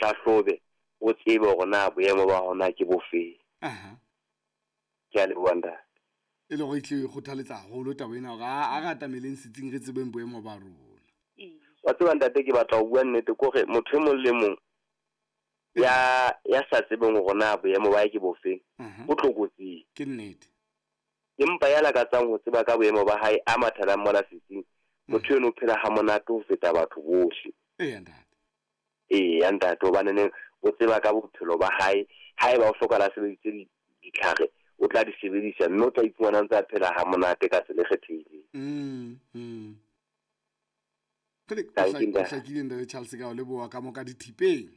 hlahlobe, o tsebe hore na boemo ba hao na ke bofeng. Aha. Ke a leboha ntate. E le gore e tle e kgothaletsa haholo taba ena hore a re atameleng setsing re tsebeng boemo ba rona. Wa tseba ntate, ke batla ho bua nnete ke hore motho e mong le mong ya ya sa tsebeng hore na boemo ba hae ke bofeng, o tlokotsing. Ke nnete. Empa ya lakatsang ho tseba ka boemo ba hae a mathelang mona setsing, motho eno o phela ha monate ho feta batho bohle. Eya ntate. Eya ntate, hobaneneng o tseba ka bophelo ba hae. Haeba o hlokahala a sebedisitse ditlhare, o tla di sebedisa mme o tla iphumana a ntse a phela ha monate ka tsela e kgethehileng. Kgele, o Tanki, ntate. hlakile ntate Charles, ka o leboha ka mo ka dithipeng.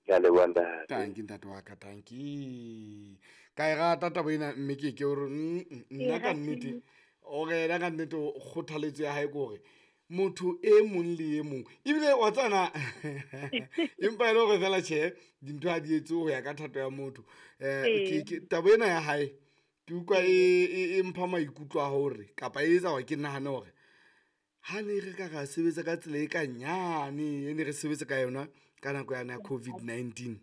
Ke a leboha ntate. Tanki ntate wa ka, tanki. Ka e rata taba ena, mme ke ke hore nna ka nnete, o re yena ka nnete o kgothaletso ya hae ke hore motho e mong le e mong, ebile wa tsana empa e le hore fela tjhe, dintho ha di etse ho ya ka thato ya motho. Ke taba ena ya hae ke utlwa e mpha maikutlo a hore kapa e etsa hore ke nahane hore ha ne re ka ra sebetsa ka tsela e ka nyane e ne re sebetsa ka yona ka nako yane ya COVID-19,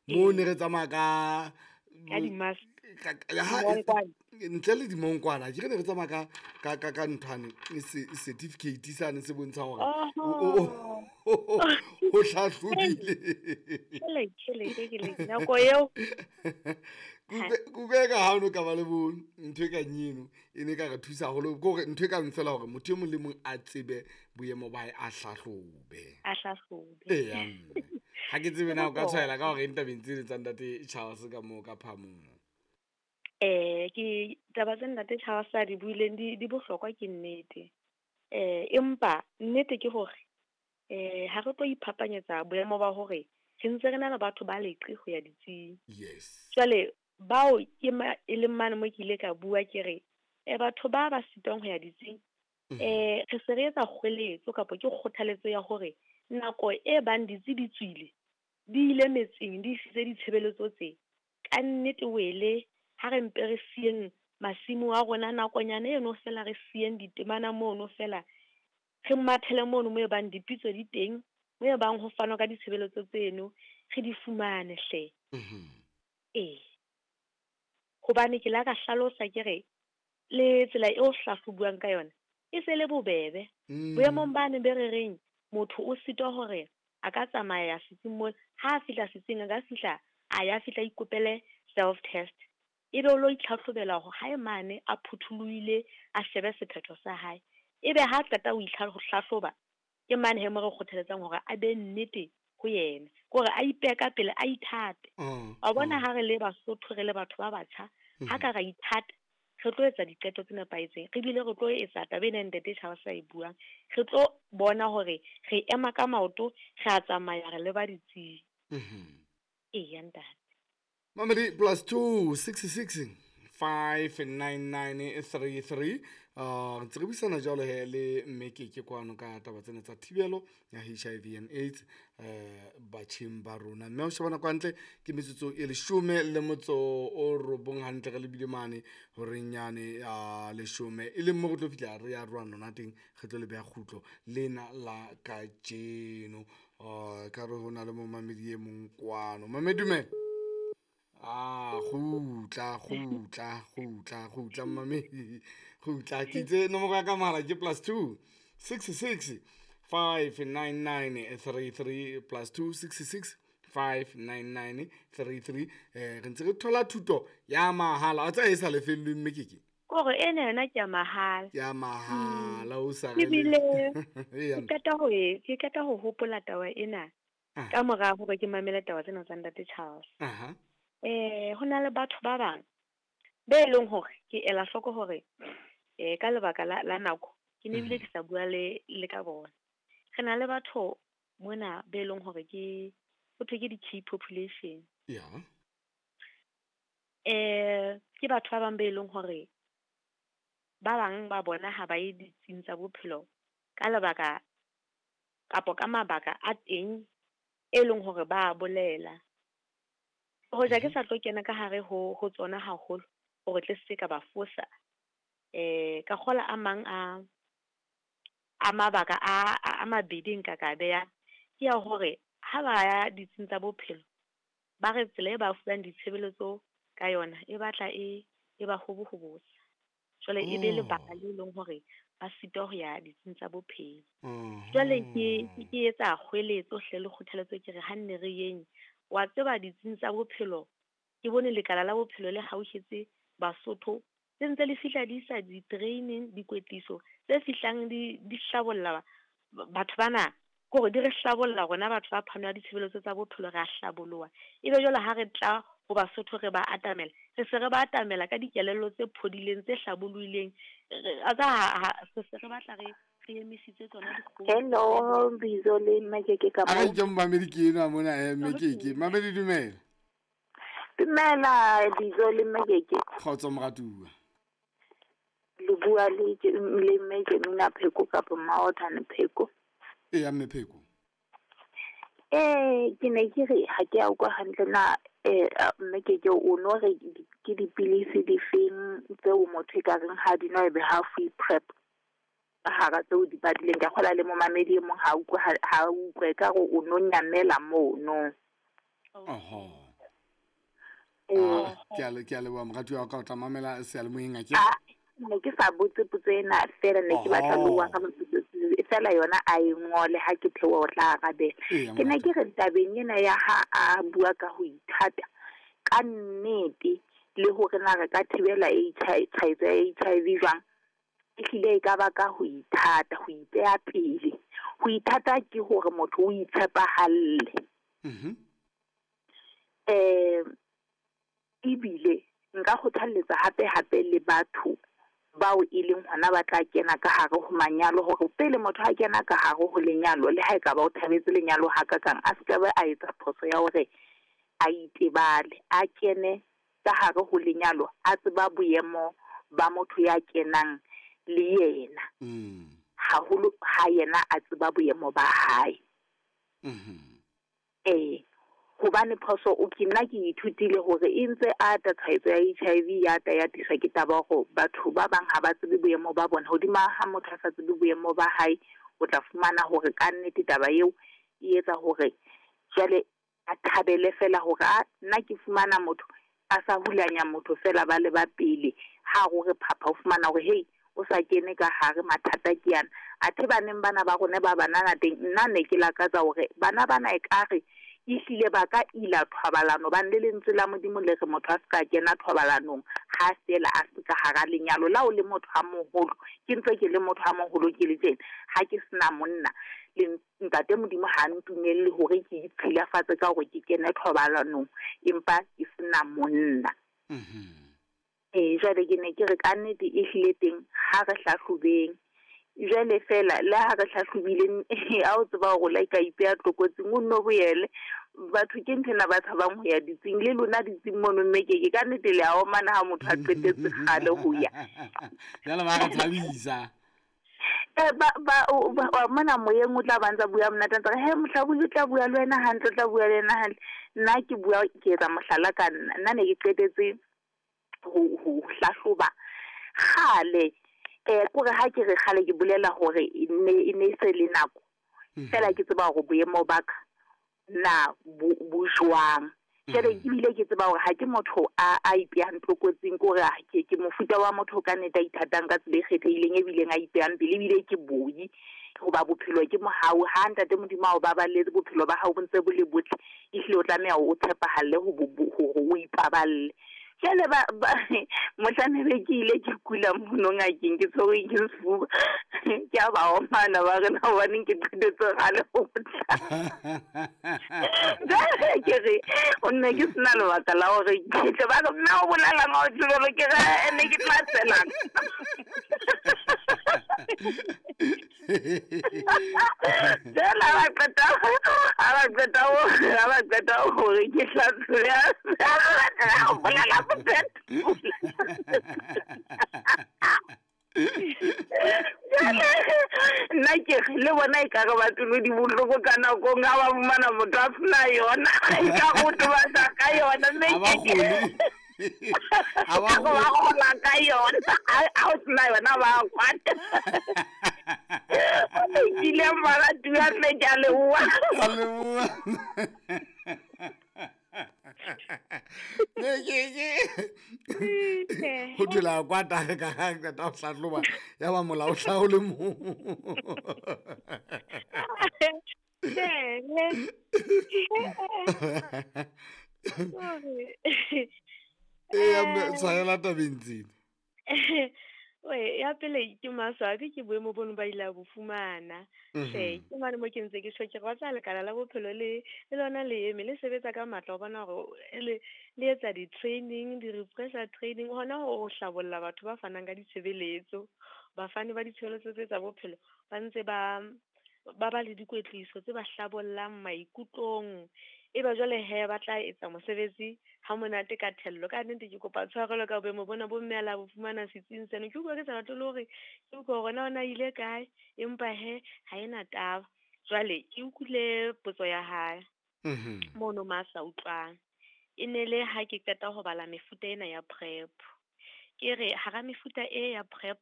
moo ne re tsamaya ka Ka di-mask. Ha, ntle le dimonkwana, ke re ne re tsamaya ka nthwane, certificate sane se bontshang hore o hlahlobile. Kele, kele, kele, kele, nako eo. Kutlwe ka ha o no ka ba le bo ntho e kang eno, e ne ka re thusa haholo. Ke hore ntho e kang fela hore motho e mong le mong a tsebe boemo ba hae, a hlahlobe. A hlahlobe. Eya, mme. Ha ke tsebe na o ka tshwaela ka hore eng tabeng tsene tsa ntate Charles ka moo ka phamong. Ke taba tse ntate Charles a di buileng di bohlokwa, ke nnete. Empa nnete ke hore ha re tlo iphapanyetsa boemo ba hore re ntse re na le batho ba leqe ho ya ditsing. Jwale bao ke ma, e leng mane mo ke ile ka bua ke re, batho ba ba sitwang ho ya ditsing, re se re etsa kgweletso kapa ke kgothaletso ya hore nako e bang ditsi di tswile, di ile metseng, di isitse ditshebeletso tse, ka nnete wele ha re mpe re siyeng masimo a rona nakonyana eno fela, re siyeng ditemana mono fela, re mathele mono mo e bang dipitso di teng, mo e bang ho fanwa ka ditshebeletso tseno, re di fumane hle. Ee. Hobane ke la ka hlalosa ke re, le tsela eo hlahlobuwang ka yona, e se le bobebe. Boemong bane be re reng, motho o sitwa hore a ka tsamaya setsing mona, ha a fihla setsing a ka fihla, a ya fihla ikopele self test. Ebe o lo itlhahlobela hore hae mane a phuthulohile, a shebe sephetho sa hae. Ebe ha qeta ho ho hlahloba, ke mane he mo re kgothaletsang hore a be nnete ho yena. Ke hore a ipehe ka pele, a ithate. Wa bona ha re le Basotho, re le batho ba batjha, ha ka ra ithata, re tlo etsa diqeto tse nepahetseng, re bile re tlo etsa taba ena ntate Charles a e buang. Re tlo bona hore re ema ka maoto, re a tsamaya, re leba ditsing. Eya ntate. Mamedi +2 66 599 33. Ntse re buisana jwalo he le mme Keke kwano ka taba tsena tsa thibelo ya HIV and AIDS batjheng ba rona. Mme o shebana kwa ntle ke metsotso e 19 hantle re lebile mane horeng yane ya 10, e leng mo re tlo fihla re ya rona nona teng, re tlo le beha kgutlo lena la kajeno. Ka re hona le momamedi e mong kwano. Mamedi dumela. Ah, kgutla, kgutla, kgutla, kgutla, mamedi. Kgutla, ke itse nomoro ya ka mohala ke +2 66 599 33, +2 66 599 33. Re ntse re thola thuto ya mahala. Wa tseba e sa lefellweng mme Keke? Kore ena yona ke ya mahala. Ke ya mahala, o sa Ke re le- bile Eya. ke qeta ho e, ke qeta ho hopola taba ena ka mora hore ke mamele taba tsena tsa ntate Charles. Ho na le batho ba bang be leng hore ke ela hloko hore, ka lebaka la nako ke ne ebile ke sa bua le ka bona. Re na le batho mona be leng hore ke ho thwe ke di-key population. Ke batho ba bang be leng hore ba bang ba bona ha ba ye ditsing tsa bophelo ka lebaka kapo ka mabaka a teng e leng hore ba bolela. Hoja ke sa tlo kena ka hare ho tsona haholo hore tle se ka ba fosa. Ka kgola a mang a mabaka a mabedi nka ka beha ke ya hore Ha ba ya ditsing tsa bophelo, ba re tsela e ba fuwang ditshebeletso ka yona e batla e ba hobohobosa. Jwale e be lebaka le leng hore ba sitwa ho ya ditsing tsa bophelo. Jwale ke etsa kgweletso hle le kgothaletso, ke re ha nne re yeng. Wa tseba ditsing tsa bophelo, ke bone lekala la bophelo le hauhetse Basotho, tse ntse le fihla di isa di-training, dikwetliso tse fihlang di hlabolla batho bana, kore di re hlabolla rona batho ba phano ya ditshebeletso tsa bophelo, re a hlaboloha. Ebe jwale ha re tla ho Basotho re ba atamela, re se re ba atamela ka dikelello tse phodileng, tse hlabollohileng. Se se re batla re emisitse tsona dikgomo. Hello, Bizo le Mmekeke ka mo. A ke mmamedi ke enwa mona, Mmekeke. Mmamedi dumela. Dumela Bizo le Mmekeke. Kgotso moratuwa. Le bua le mme Jemina Pheko kapa Maothane Pheko. Eya mme Pheko. Ke ne ke re ha ke a utlwa hantle na Mmekeke o no re ke dipilisi difeng tseo motho e ka reng ha di nwa ebe ha fuwe PrEP hara tseo di badileng. Ka kgola le momamedi e mong ha utlwe ha utlwe ka re o no nyamela mono. Oho. Ke a leboha moratuwa wa ka, o tla mamela seyalemoyeng a ke. Ne ke sa botse potso ena fela, ne ke batla le wa ka fela yona a e ngole ha ke theoha o tla arabela. Ke ne ke re tabeng ena ya ha a bua ka ho ithata ka nnete le hore na re ka thibela tshwaetso ya HIV jwang, ehlile e ka ba ka ho ithata, ho ipeha pele. Ho ithata ke hore motho o itshepahalle. Ebile nka kgothalletsa hape hape le batho bao e leng hona ba tla kena ka hare ho manyalo, hore pele motho a kena ka hare ho lenyalo, le ha e ka ba o thabetse lenyalo hakakang, a se ka ba a etsa phoso ya hore a itebale, a kene ka hare ho lenyalo a tseba boemo ba motho ya kenang le yena. Haholo ha yena a tseba boemo ba hae. Hobane phoso o ke nna ke ithutile hore e ntse ata tshwaetso ya HIV ya ta ya tiswa ke taba hore batho ba bang ha ba tsebe boemo ba bona. Hodima ha motho a sa tsebe boemo ba hae, o tla fumana hore ka nnete taba eo e etsa hore jwale a thabele fela hore a nna ke fumana motho a sa hulanya motho fela ba le ba pele. Ha hore phapha o fumana hore hey o sa kene ka hare mathata ke yana. Athe baneng bana ba rona ba banana teng, nna ne ke lakatsa hore bana bana ekare ehlile ba ka ila thobalano, bane le lentswe la Modimo le re motho a se ka kena thobalanong ha fela a se ka hara lenyalo. La o le motho a moholo, ke ntse ke le motho a moholo ke le tjena, ha ke sena monna le ntate Modimo ha ntumelle hore ke itshilafatse ka hore ke kene thobalanong empa ke sena monna. Jwale ke ne ke re ka nnete ehlile teng ha re hlahlobeng. Jwale fela le ha re hlahlobile, ha o tseba hore la ka ipeha tlokotsing, o nno boele. Batho ke nthwena ba tshabang ho ya ditsing, le lona ditsing mono Mmekeke ka nnete le a omana ha motho a qetetse kgale ho ya. Jwale ba re thabisa. Ba mona moyeng o tla ba ntsa bua monate, ntse re he mohlabodi o tla bua le wena hantle, o tla bua le wena hantle. Nna ke bua ke etsa mohlala ka nna, nna ne ke qetetse ho hlahloba kgale. Kore ha ke re kgale ke bolela hore e ne se le nako fela ke tseba hore boemo ba ka na bo jwang. Jwale ke bile ke tseba hore ha ke motho a ipehang tlokotsing, ke hore ke mofuta wa motho ka nnete a ithatang ka tsela e kgethehileng, ebileng a ipehang pele, ebile ke boi hoba bophelo ke mohau. Ha ntate Modimo a o baballetse, bophelo ba hao bo ntse bo le botle, ehlile o tlameha o tshepahalle hore o ipaballe. Jwale ba mohlang be ke ile ke kula mono ngakeng, ke tshwerwe ke sefuba, ke a ba omana ba re na hobaneng ke qetetse kgale ho tla. Jwale ke re o nne ke sena lebaka la hore ke tle, ba re mme o bolelang ha o tjho, ke re ne ke tla tselang. Jwale ha ba qeta hore ke hlatswe, o bolela nna ke le bona ekare ba pelo di bohloko ka nakong ha ba fumana motho a sena yona, ka go tobatsa ka yona, mme ba gola ka yona, ha o sena yona ba kwata. O lokile moratuwa mme ke a leboha. A leboha. Ne ke ho thwe la kwata ka ha qeta ho hlahloba ya ba molao o hlaha o le mong. Eya mme tshwarela tabeng tsena. Oe, ya pele ke maswabi ke boemo bono ba ile a bo fumana. Hle, ke mane mo ke ntse ke tjho ke re wa tseba lekala la bophelo le le lona le eme le sebetsa ka matla ho bona hore le le etsa di-training, di-refresher training hona ho hlabolla batho ba fanang ka ditshebeletso. Bafani ba ditshebeletso tse tsa bophelo ba ntse ba ba ba le dikwetliso tse ba hlabollang maikutlong. Eba jwale he ba tla etsa mosebetsi ha monate ka thello. Ka nnete ke kopa tshwarelo ka boemo bona bo mme a la bo fumana setsing seno. Ke utlwa ke sa batle le hore ke utlwe hore na ona ile kae, empa he ha ena taba. Jwale ke utlwile potso ya hae mono ma sa utlwang. E ne le ha ke qeta ho bala mefuta ena ya PrEP. Ke re hara mefuta e ya PrEP,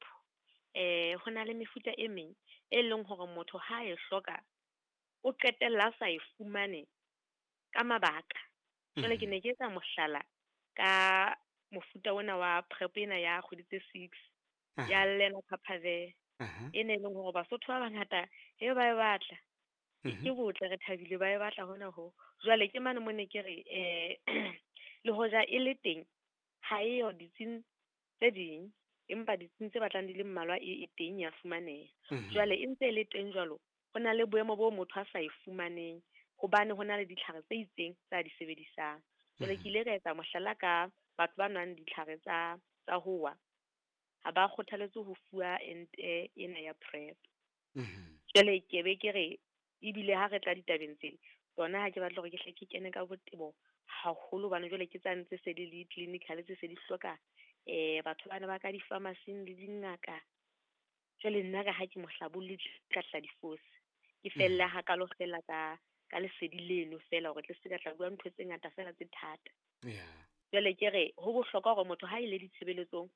ho na le mefuta e meng e leng hore motho ha e hloka o qetella a sa e fumane ka mabaka. Jwale ke ne ke etsa mohlala ka mofuta ona wa PrEP ena ya kgwedi tse 6 ya Lenacapavir. E ne e leng hore Basotho ba bangata he ba e batla. Ke botle re thabile ba e batla hona ho. Jwale ke mane mo ne ke re le hoja e le teng ha eyo ditsing tse ding, empa ditsing tse batlang di le mmalwa e teng ya fumaneha. Jwale e ntse e le teng jwalo, ho na le boemo bo motho a sa e fumaneng hobane ho na le ditlhare tse itseng tsa di sebedisang. Jwale ke ile ka etsa mohlala ka batho ba nwang ditlhare tsa hoa, ha ba kgothaletswe ho fuwa ente ena ya PrEP. Jwale ke be ke re ebile ha re tla ditabeng tsena tsona ha ke batle hore ke hle ke kene ka botebo haholo hobane jwale ke tsane tse se di le clinical tse se di hloka batho bana ba ka di-pharmacy-ing le dingaka. Jwale nna ka ha ke mohlabolli ka tla difosi. Ke fella hakalo fela ka ka lesedi leno fela hore tle se ka tla bua ntho tse ngata fela tse thata. Jwale ke re ho bohlokwa hore motho ha ile ditshebeletsong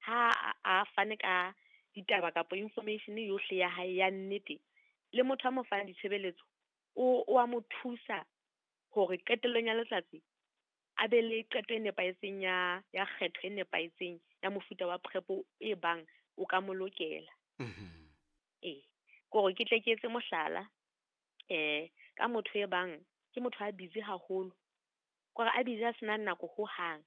ha a fane ka ditaba kapa information yohle ya hae ya nnete, le motho a mo fang ditshebeletso o a mo thusa hore qetellong ya letsatsi a be le qeto e nepahetseng ya kgetho e nepahetseng ya mofuta wa PrEP e bang o ka mo lokela. Ee, kore ke tle ke etse mohlala ka motho e bang ke motho a busy haholo, kore a busy a sena nako hohang,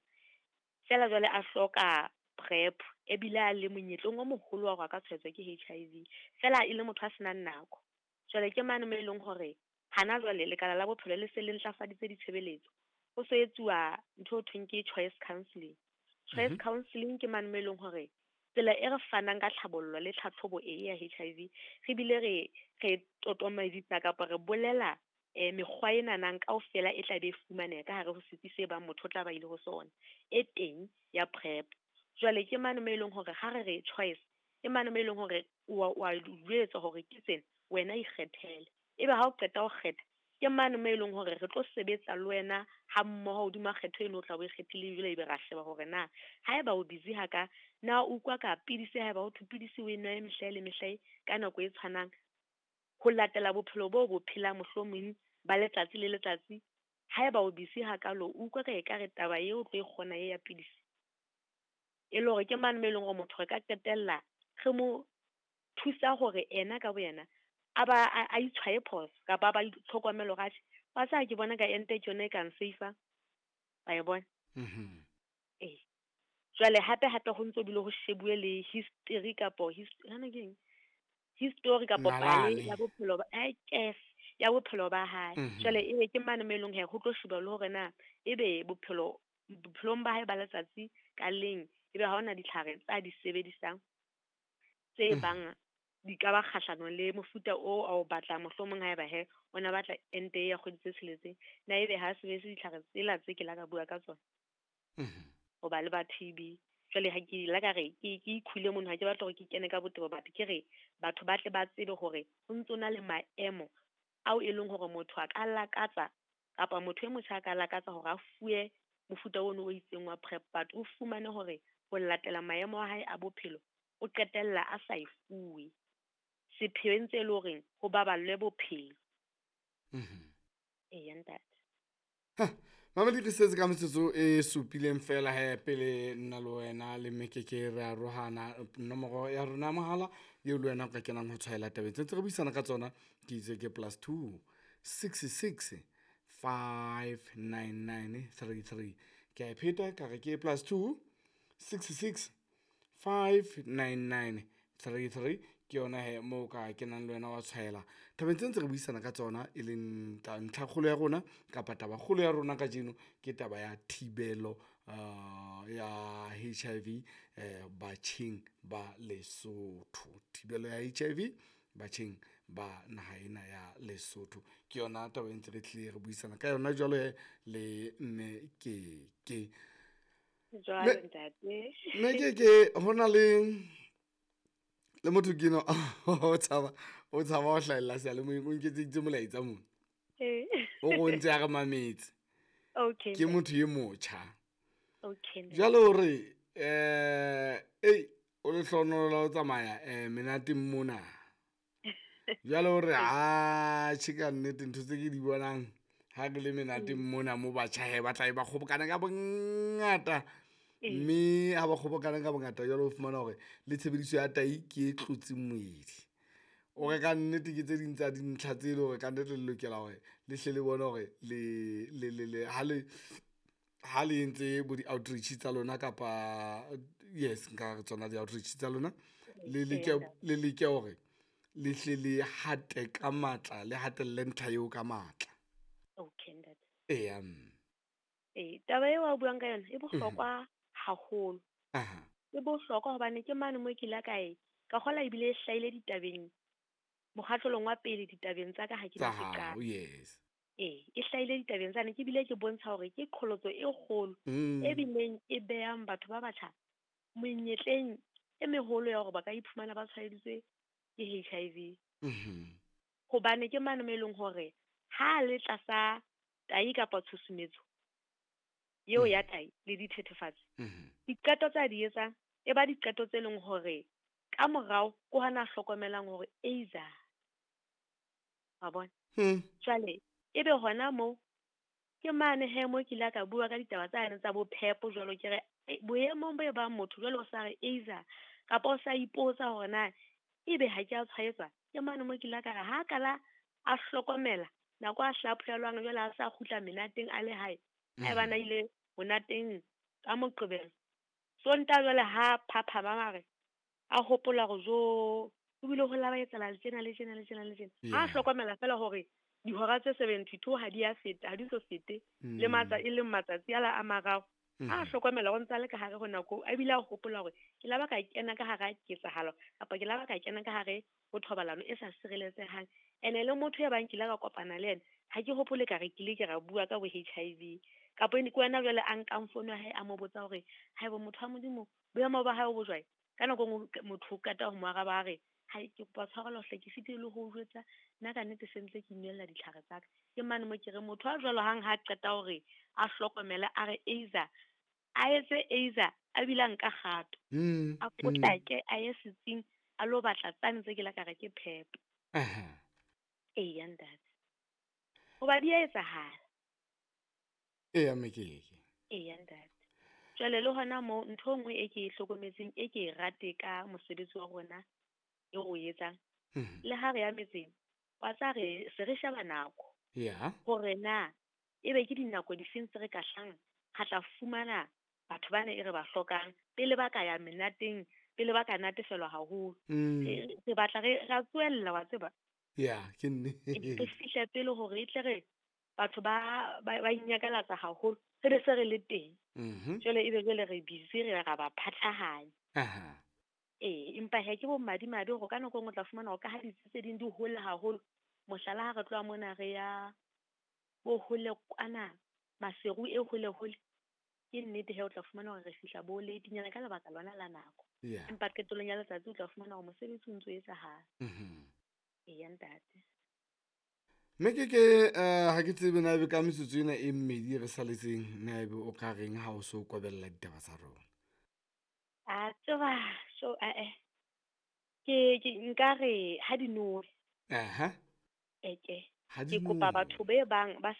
fela jwale a hloka PrEP ebile a le monyetleng o moholo wa hore a ka tshwaetswa ke HIV, fela e le motho a senang nako. Jwale ke mane mo e leng hore hana jwale lekala la bophelo le se le ntlafaditse ditshebeletso. Ho so etsuwa ntho e thweng ke choice counseling. Choice counseling ke mane mo e leng hore tsela e re fanang ka tlhabollo le tlhatlhobo e ya HIV, re bile re totomaditsa kapa re bolela mekgwa e nanang kaofela e tla be e fumaneha ka hare ho setsi se bang motho o tla ba ile ho sona e teng ya PrEP. Jwale ke mane mo e leng hore ha re re choice, ke mane mo e leng hore wa jwetswa hore ke tsena, wena ikgethele. Ebe ha o qeta ho kgetha, ke mane mo e leng hore re tlo sebetsa le wena ha mmoho hodima kgetho eno o tla bo e kgethile, jwale ebe ra sheba hore na haeba o busy haka, na o utlwa ka pidisi, haeba ho thwe pidisi o e nwa mehla le mehla ka nako e tshwanang, ho latela bophelo bo bo phelang mohlomong ba letsatsi le letsatsi. Haeba o busy hakalo, o utlwa ka ekare taba eo o tlo e kgona e ya pidisi. E le hore ke mane mo e leng hore motho re ka qetella re mo thusa hore ena ka boyena a ba a itshwaye phoso kapa a ba itlhokomele hore atjhe, wa tseba ke bona ka ente ke yona e ka nsafe-ang, wa e bona. Ee. Jwale hape hape ho ntso bile ho shebuwe le history kapo hana ke eng? History kapo pale ya bophelo ba ya bophelo ba hae. Jwale ebe ke mane mo e leng hore ho tlo sheba le hore na ebe bophelong ba hae ba letsatsi ka leng ebe ha hona ditlhare tsa di sebedisang tse bang di ka ba kgahlanong le mofuta o a o batlang, mohlomong haeba he o na batla ente ya kgwedi tse tsheletseng, na ebe ha sebedise ditlhare tsela tse ke la ka bua ka tsona hoba le ba TB. Jwale ha ke la ka re ke ikhule mono, ha ke batla hore ke kene ka botebo, batho ke re batho ba tle ba tsebe hore ho ntso na le maemo ao e leng hore motho a ka lakatsa kapa motho e motjha a ka lakatsa hore a fuwe mofuta ono o itseng wa PrEP, but o fumane hore ho latela maemo a hae a bophelo o qetella a sa e fuwe. Sepheo e ntse e le horeng ho baballwe bophelo. Eya ntate. Mamedi, re setse ka metsotso e supileng fela he pele nna le wena le Mekeke re arohana. Nomoro ya rona ya mohala eo le wena o ka kenang ho tshwaela tabeng tse ntse re buisana ka tsona ke itse ke +2 66 599 33. Ke a e pheta ka re ke +2 66 599 33. Ke yona he moo ka kenang le wena wa tshwaela tabeng tse ntse re buisana ka tsona, e leng ntlhakgolo ya rona kapa tabakgolo ya rona kajeno ke taba ya thibelo ya HIV batjheng ba Lesotho. Thibelo ya HIV batjheng ba naha ena ya Lesotho ke yona taba e ntse re tlile re buisana ka yona jwalo he le mme Keke. Jwalo ntate. Mme Keke, ho na le motho ke no o tshaba ho hlahella seyalemoyeng, o nketseditse molaetsa mona. O re o ntse a re mametse. Ke motho e motjha. Jwale hore ei o lehlohonolo la ho tsamaya menateng mona. Jwale hore a tjhe ka nnete ntho tse ke di bonang ha re le menateng mona mo batjha he ba tla be ba kgobokana ka bongata. Mme ha ba kgobokana ka bongata jwale o fumana hore le tshebediso ya tai ke e tlotseng moedi. O re ka nnete ke tse ding tsa dintlha tse leng hore ka nnete le lokela hore le hle le bone hore le ha le entse bo di-outreach tsa lona kapa yes nka re tsona di-outreach tsa lona, le leke hore le hle le hate ka matla, le hatelle ntlha eo ka matla. Okay ntate. Eya. Taba eo a buang ka yona e bohlokwa haholo. E bohlokwa hobane ke mane mo ke ile ka e ka kgola ebile e hlahile ditabeng mokgahlelong wa pele ditabeng tsa ka ha ke ne ke qala. Yes. E hlahile ditabeng tsane, ke bile ke bontsha hore ke qholotso e kgolo e bileng e behang batho ba batjha menyetleng e meholo ya hore ba ka iphumana ba tshwaeditswe ke HIV. Hobane ke mane mo e leng hore ha le tlasa tai kapa tshusumetso eo ya tai le dithethefatsi, diqeto tsa di etsang e ba diqeto tse leng hore ka morao ke hona hlokomelang hore eiza wa bona. Jwale ebe hona moo ke mane he mo ke ile ka bua ka ditaba tsane tsa bophepo jwalo ke re boemong bo e bang motho jwale o sa re eiza kapa o sa ipotsa hore na ebe ha ke a tshwaetswa. Ke mane mo ke ile ka re ha kala a hlokomela nako a hlaphohelwang jwale a sa kgutla menateng a le hae, haeba na ile monateng ka Moqebelo, Sontaha jwale ha phaphama mare a hopola hore jo o bile ho la ba etsahala le tjena le tjena le tjena le tjena. Ha hlokomela fela hore dihora tse 72 ha di a feta, ha di so fete le matsa e leng matsatsi ala a mararo. Ha hlokomela hore ntse a le ka hare ho nako, a bile a hopola hore ke la ba ka kena ka hara ketsahalo kapa ke la ba ka kena ka hare ho thobalano e sa sireletsehang. Ene le motho ya bang ke ile ka kopana le yena, ha ke hopole ka re ke ile ke ra bua ka bo HIV. Kapa ke wena jwale a nkang founu ya hae a mo botsa hore haeba motho wa Modimo boemo ba hae bo jwang. Ka nako e nngwe motho o qeta ho mo araba a re hai ke kopa tshwarelo hle ke sitile le ho o jwetsa, nna ka nnete se ntse ke inwella ditlhare tsa ka. Ke mane mo ke re motho a jwalo hang ha qeta hore a hlokomele a re eiza, a etse eiza a bile a nka kgato. A potlake a ye setsing a lo batla tsane tse ke la ka re ke phepo. Eya ntate. Hoba di a etsahala. Eya Mekeke. Eya ntate. Jwale le hona moo ntho e nngwe e ke e hlokometseng e ke e rate ka mosebetsi wa rona e re o etsang, le ha re ya metseng, wa tsa re se re sheba nako. Hore na ebe ke dinako difeng tse re ka hlang ra tla fumana batho bana e re ba hlokang pele ba ka ya menateng, pele ba ka natefelwa haholo. Re batla re ra tswella wa tseba. Ya, ke nnete. Re fihle pele hore e tle re batho ba inyakalatsa haholo, re be se re le teng. Jwale ebe jwale re busy re ra ba phatlahanya. Empa he ke bo madimabe hore ka nako e nngwe o tla fumana hore ka ha ditsi tse ding di hole haholo, mohlala ha re tloha mona re ya bo hole kwana Maseru e hole hole, ke nnete he o tla fumana hore re fihla bo late-nyana ka lebaka lona la nako. Empa qetellong ya letsatsi o tla fumana hore mosebetsi o ntso etsahala. Eya ntate. Mekeke ha ke tsebe na ebe ka metsotso ena e mmedi re saletseng na ebe o ka reng ha o so kobella ditaba tsa rona? A tseba so Ke nkare ha di nowe. Aha. Eke. Ha di Ke kopa nowe. Batho be bang ba